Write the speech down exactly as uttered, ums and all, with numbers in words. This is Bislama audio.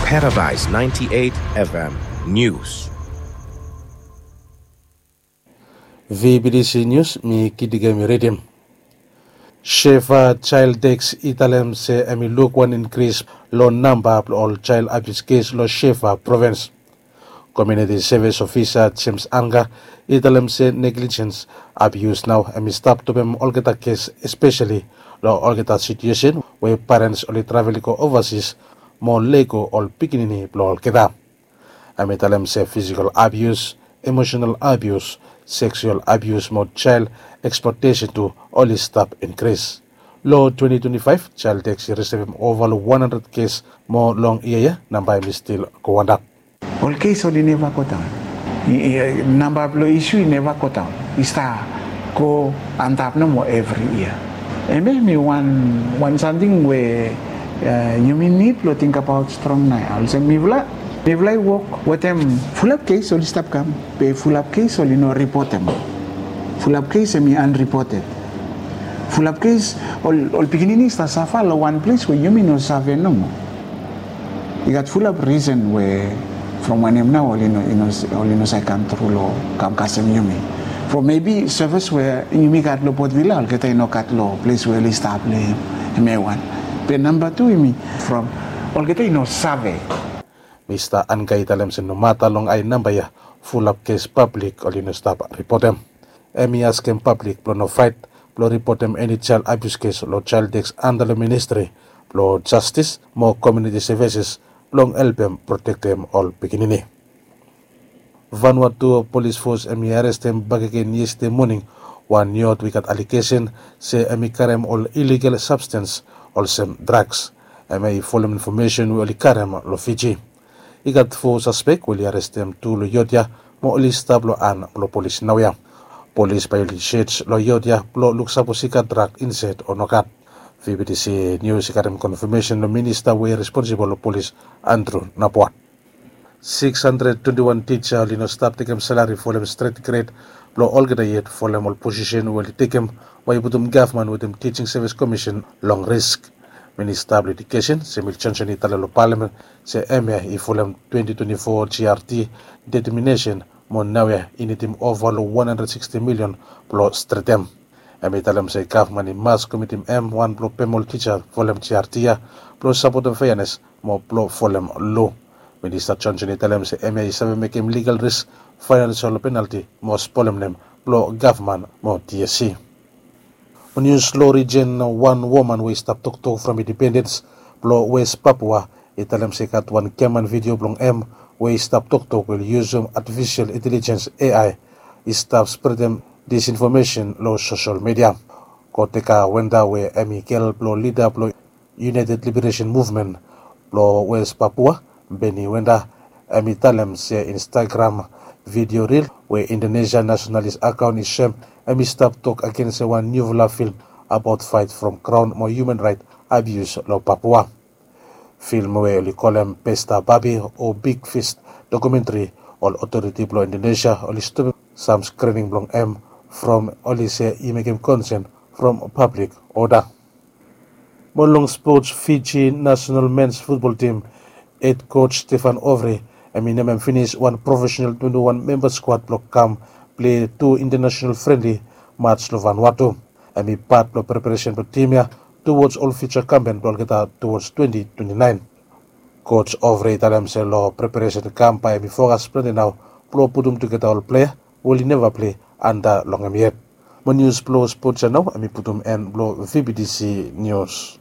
Paradise ninety-eight F M News. V B T C News, mi Kidiga mi ridim. Shefa Child Desk i talem se hemi luk wan inkris long namba blong ol child abuse kes long Shefa provins. Community Service Officer James Anga i talem se negligence, abuse nao hemi stap topem olgeta kes, espeseli long olgeta situesen we parens oli travel i go ovasis mo lego ol pikinini blong olgeta. Hemi talem se physical abuse, emotional abuse, sexual abuse mo child exploitation tu oli stap inkris. Long twenty twenty-five, Child Desk i risivim ova long wan handred kes mo long yia ya namba hemi stil go antap. Ol kes oli neva go daon. Namba blong isu i neva go daon, i stap go antap nomo evri yia. Hemia hemi wan samting we yumi nid blong tingbaot strong nao ya. Olsem mifala, mifala i wok wetem fulap kes oli stap kam, be fulap kes oli no ripotem. Fulap kes hemi anripoted. Fulap kes ol pikinini i stap safa long wan ples we yumi no save nomo. I gat fulap risen we from wanem nao oli no save kam tru long kam kasem yumi. From mebi sevis we yumi gat long Port Vila, olgeta i no gat long ples we oli stap long hem. Hemia wan. Be namba tu hemi from olgeta i no save. Mista Anga i talem se nomata long ae namba ya, fulap kes pablik oli no stap ripotem. Hemi askem pablik blong no fraet blong ripotem eni child abuse kes long Child Desk anda long Ministri blong Jastis mo Komuniti Sevises blong helpem protektem ol pikinini. Vanuatu Polis Fos hemi arestem bakegen yestede moning wan yod we i gat alegesen se hemi karem ol iligal sabstens olsem draks. Hemia i folem infomesen we oli karem long Fiji. I gat fo saspek we oli arestem tu long yod ya mo oli stap long han blong polis naoia. Polis bae oli sej long yod ya blong luk sapos i gat drak insaed o nogat. V B T C Nius i karem konfamesen long minista we i responsibol long polis, Andrew Nabua. Sikis handred twenti wan tija oli no stap tekem salari folem stret gred blong olgeta yet folem ol posisen we oli tekem, we i putum gavman wetem Tijing Sevis Komisen long risk. Minista blong Edukesen, Samuel Johnson, i talem long palamen se hemia i folem twenti twenti fo G R T deteminesen mo naoia i nidim ova long wan handred siksti milion blong stretem. Hemi talem se gavman i mas komitim hem wan blong pem ol tija folem G R T ya blong sapotem feanes mo blong folem lo. Minista Johnson i talem se hemia i save mekem ligal risk, faenansel penalti mo spolem nem blong gavman mo T S C. Mo nius long rijen, wan woman we i stap toktok from Independens blong Wes Papua i talem se i gat wan geman vidio blong hem we i stap toktok we oli yusum atifisel intelejens, A I, i stap spredem disinfomesen long sosel midia. Koteka Wenda we hemi gel blong lida blong United Liberation Movement blong Wes Papua, Beni Wenda, hemi talem se Instagram vidio ril we Indonesia nasenalis akaon i soem, hemi stap tok agen se wan niufala film abaot faet from graon mo hiuman raet abius long Papua. Film we oli kolem Pesta Babi o Big Fist dokumentri, ol otoriti blong Indonesia oli stopem sam skrining blong hem from oli se i mekem konsen from pablik oda. Mo long spots, Fiji nasenal mens futbol tim hed koj Stefan Ovry hemi nemem finis wan profesenal twenti wan memba skuad blong kam plei tu intanasenal frenli maj long Vanuatu. Hemi pat blong preparesen blong tim ya tuwods ol fiuja kampen blong olgeta tuwods twenti twenti naen. Koj Ovry i talem se long preparesen kam bae hemi fokas plante nao blong putum tugeta ol plea we oli neva plei anda long hem yet. Mo nius blong spots ya nao hemi putum en blong V B T C Nius.